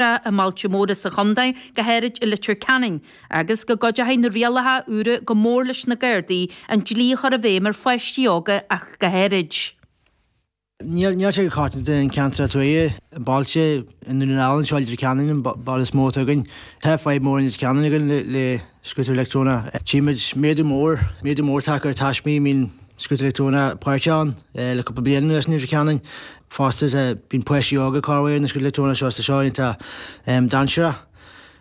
I mbailte móra sa chontae, go háirid i Leitir Ceanainn, agus go gcuideochaidh na rialacha úra go mór leis na Gardaí an dlí a chur i bhfeidhm ar pháistí óga ach go háirid. Níl sé go coitianta in ceantar tuaithe, i mbailte, i nDún na nGall anseo i Leitir Ceanainn, an baile is mó atá againn. Tá fadhb mór in Leitir Ceanainn againn le scútar leictreonach. Tchímid méadú mór, méadú mór tagtha ar taismí a mbíonn scútar leictreonach páirteach ann le cúpla bliain anuas in Leitir Ceanainn. Fosta bíonn páistí óga ag cur ar na scútair leictreonacha seo is tá seo iontach dainséarach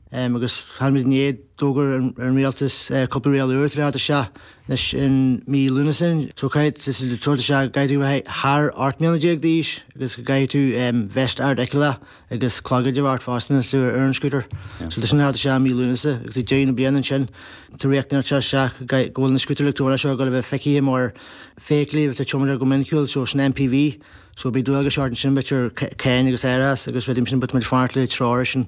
agus táimid i ndiaidh d'fhógair an rialtas cúpla riail úr tar éis teacht isteach anois in mí Lúnasa so caithfidh tú tabhairt isteach go gcaithfidh tú bheith thar 18 mbliana d'aois agus go gcaithfidh tú veist ardfheiceálach agus clogaid a bheith ort fosta nuair atá tú ar an scútar. So tá sin ag teacht isteach i mí Lúnasa agus ag deireadh na bliana ansin tá riachtanas ag teacht isteach go bhfuil na scútair leictreonacha seo ag dul a bheith feicthe mar feithiclí atá tiomanta go miniciúil so sin MPV so beidh dualgais ort ansin b'fhéidir cáin agus árachas agus rudaí mar sin but tá muid ag fanacht le treoir sin.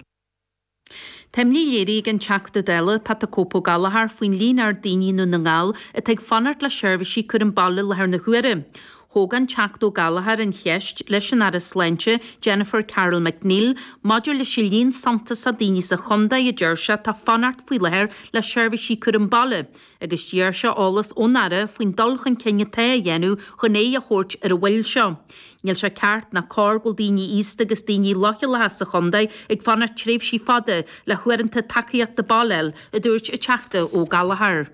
Tá imní léirithe ag an Teachta Dála, Pat the Cope Ó Gallchóir, faoin líon ard daoine i nDún na nGall atá ag fanacht le seirbhísí cúram baile i láthair na huaire. Thóg an Teachta Ó Gallchóir an cheist leis an Aire Sláinte, Jennifer Carroll MacNeill, maidir leis an líon suntasach daoine sa chontae a deir sé atá ag fanacht faoi láthair le seirbhísí cúram baile. agus d'iarr sé eolas ón Aire faoin dul chun cinn atá á dhéanamh chun aghaidh a thabhairt ar an mhoill seo. Níl sé ceart ná cóir go bhfuil daoine aosta agus daoine leochaileacha sa chontae ag fanacht tréimhsí fada le huaireanta tacaíochta baile a fháil, a dúirt an Teachta Ó Gallchóir.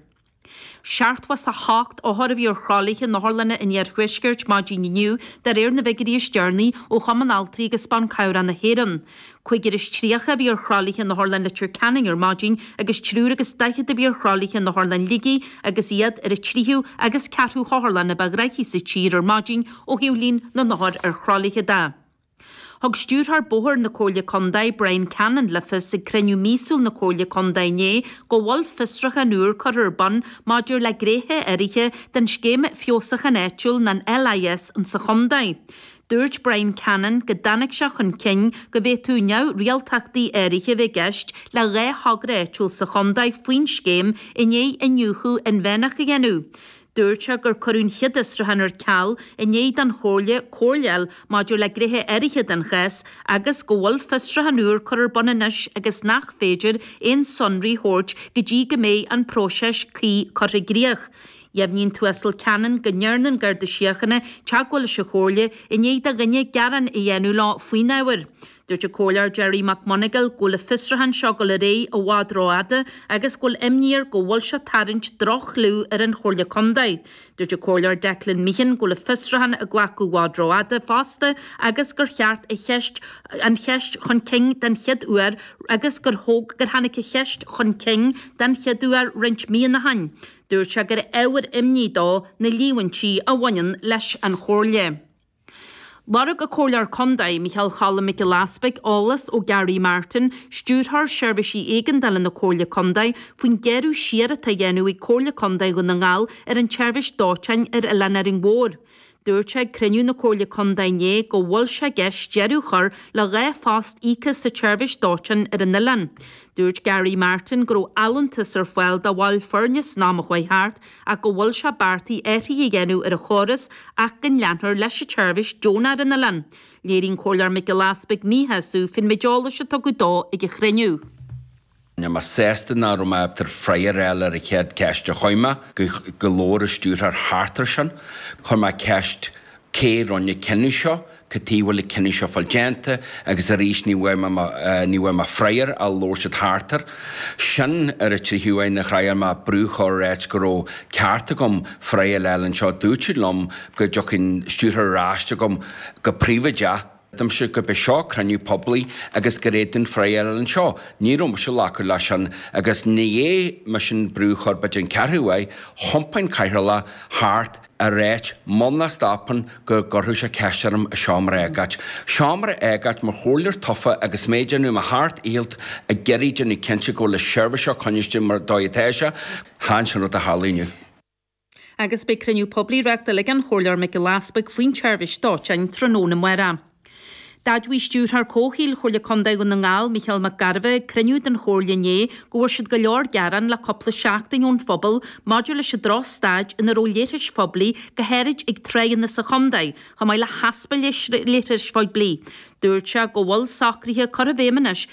78 othar a bhí ar thralaithe in otharlanna an iarthuaiscirt maidin inniu de réir na bhfigiúirí is deireanaí ó Chumann Altraí agus Ban Cabhrach na hÉireann. 35 a bhí ar thralaithe in Otharlann Leitir Ceanainn ar maidin agus triúr agus daichead a bhí ar thralaithe in Otharlann Shligigh agus iad ar an tríú agus ceathrú hotharlann a ba ghnaithí sa tír ar maidin ó thaobh líon na n-othar ar thralaithe de. Thug Stiúrthóir Bóthair na Comhairle Contae, Brian Cannon le fios ag cruinniú míosúil na Comhairle Contae inné go bhfuil fiosrúchán úr curtha ar bun maidir le gnéithe áirithe den Scéim Feabhsúcháin Áitiúil nó an LIS insa chontae. Dúirt Brian Cannon go dtáinig sé chun cinn go bhféadfadh neamhrialtachtaí áirithe a bheith i gceist le 2 thogra áitiúil sa chontae faoin scéim i ndiaidh iniúchadh inmheánach a dhéanamh. Dúirt sé gur cuireadh an chéad fhiosrúchán ar ceal i ndiaidh don Chomhairle comhairle a fháil maidir le gnéithe áirithe den chás agus go bhfuil fiosrúchán úr curtha ar bun anois agus nach féidir aon sonraí a thabhairt go dtí go mbeidh an próiseas cuí curtha i gcrích. Dheimhnigh an tUasal Cannon go ndearna an Garda Síochána teagmháil leis an Chomhairle i ndiaidh do dhuine gearán a dhéanamh leo faoin ábhar. Dúirt an Comhairleoir Gerry McMonagall go bhfuil an fiosrúchán seo ag dul ar aghaidh i bhfad rófhada agus go bhfuil imní air go bhfuil sé ag tarraingt droch-chlú ar an Chomhairle Contae. Dúirt an Comhairleoir Declan Meehan go bhfuil an fiosrúchán ag glacadh i bhfad rófhada fosta agus gur cheart a cheist an cheist chun cinn den chéad uair agus gur thóg gur tháinig an cheist chun cinn den chéad uair roinnt míonna ó shin. Dúirt sé gur ábhar imní dó na líomhaintí a bhaineann leis an Chomhairle. Lorg an Comhairleoir Contae, Micheál Choilm Mac Giolla Easpaig, eolas ó Gary Martin, Stiúrthóir Seirbhísí Éigeandála na Comhairle Contae, faoin gcearradh siar atá á dhéanamh ag Comhairle Contae Dhún na nGall ar an tseirbhís dóiteáin ar Oileán Árainn Mhór. Dúirt sé ag cruinniú na Comhairle Contae inné go bhfuil sé i gceist deireadh a chur le 2 phost íoctha sa tseirbhís dóiteáin ar an oileán. Dúirt Gary Martin go raibh allúntas ar fáil do bhaill foirne san am a chuaigh thart ach go bhfuil sé beartaithe athruithe a dhéanamh ar an chóras ach go leanfar leis an tseirbhís deonach ar an oileán. Léirigh an Comhairleoir Mac Giolla Easpaig míshásamh faoin méid eolais a tugadh dó ag an chruinniú. Níl mé sásta nach raibh mé ábalta freagra a fháil ar an chéad ceist a chuir mé go labhair an stiúrthóir thart ar sin. Chuir mé ceist cé rinne an cinneadh seo, cad tuige a bhfuil an cinneadh seo fáil déanta agus arís ní bhfuair mé ní bhfuair mé freagra ach labhair siad thart air. Sin ar an tríú uair a thriail mé brú a chur ar áit go raibh ceart agam freagra a fháil anseo. Dúirt siad liom go dtiocfaidh an stiúrthóir ar ais agam go príobháideach. Dúirt gurb é seo cruinniú poiblí agus gur fhéadfainn freagra a fháil anseo. Ní raibh mise ag glacadh leis sin agus i ndiaidh mise an brú a chur b'fhéidir an ceathrú uair, thiompaigh an cathaoirleach thart a ráit muna stopann go gcuirfeadh sé ceist orm i seomra agóid. Seomra agóid mar chomhairleoir tofa agus mé ag déanamh mo sheacht ndícheall ag iarraidh déanamh cinnte go bhfuil an seirbhís seo coinniste mar dóigh atá sé. Chan sin rud a tharla inniu. Agus beidh cruinniú poiblí reáchtáilte ag an Chomhairleoir Mac Giolla Easpaig faoin tseirbhís dóiteáin tráthnóna amárach. D'admhaigh Stiúrthóir Comhshaoil Chomhairle Contae Dhún na nGall, Micheál Mac Gairbheith, ag cruinniú den Chomhairle inné go bhfuair siad go leor gearán le cúpla seachtain ón phobal maidir leis an droch-staid ina raibh leithris phoiblí, go háirid ag tráigheanna sa chontae, chomh maith le heaspa leithris phoiblí. Dúirt sé go bhfuil socruithe curtha i bhfeidhm anois.